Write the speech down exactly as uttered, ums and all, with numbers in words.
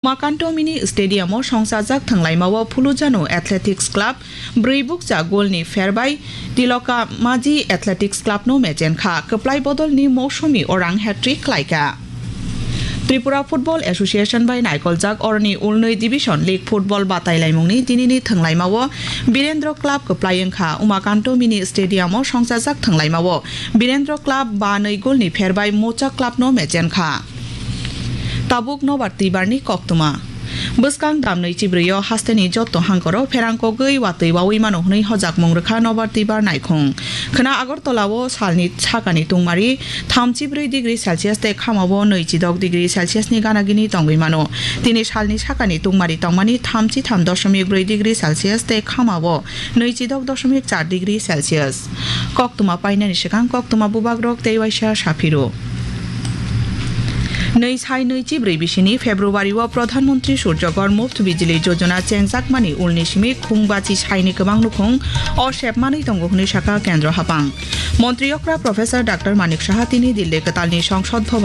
Makanto Mini Stadium o songchajak thwnglaimao Phulujano Athletics Club brwi bukcha golni pherbai Tiloka Maji Athletics Club no mechenkha. Kwplai bodolni Mousumi orang hat-trick klaikha. Tripura Football Association bai naikoljak oroni ulnwi Division League Football batailaimungni tinini thwnglaimao Birendra Club kwplai wngkha. Umakanto Mini Stadium o songchajak thwnglaimao Birendra Club ba nwi golni pherbai Mocha Club no mechenkha. Tabuk nobar twibarni koktwma. Bwskang damnwi chibrwi o hasteni jotto hangkoro pherang kogwi watwi wawi mano hwnwi hojakmung rwkha nobar twibar naikhung. Khwna Agartala o salni sakani tungmari thamchi brwi degree Celsius tei khamao nwichi dok degree Celsius ni gana gini tongwi mano. Tini salni sakani tungmari tongmani thamchi tham doshomik brwi degree Celsius tei khamao nwichi dok doshomik char degree Celsius. Koktwma painani swkang koktwma bubagrok tei waisa saphiro. Nwi sai nwi chibrwi bisini February o Pradhan Mantri Surjagor Muft Bijli Jojona chengjakmani ulni simi khungbachi saini kwbang nukhung o sepmanwi tongo hwnwi sakha Kendro Hapang. Montri okra Professor Doctor Manik Saha tini Dilli kwtalni Songsod Bhavan